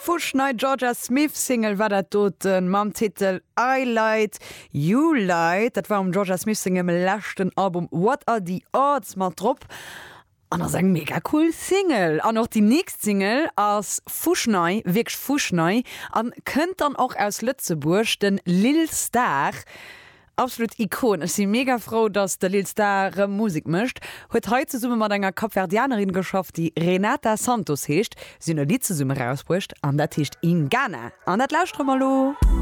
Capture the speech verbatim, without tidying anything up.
Fuschnei Jorja Smith Single war dat doten mam Titel I Lied, You Lied. Dat war um Jorja Smith sengem leschten Album What Are the Odds mat drop. An ass eng mega cool Single. An och déi nächst Single ass fuschnei, wierklech fuschnei an kënnt dann och aus Lëtzebuerg, den Lil Star. Absolut Ikon. Ech si mega frou, dass de Lil Star rëm Musek mécht. Huet hei zesumme mat enger Kapverdianerin geschafft, déi Renata Santos heescht. Si hunn e Lidd zesumme rausbruecht an dat heescht Ingana. An dat lauschtere mer elo.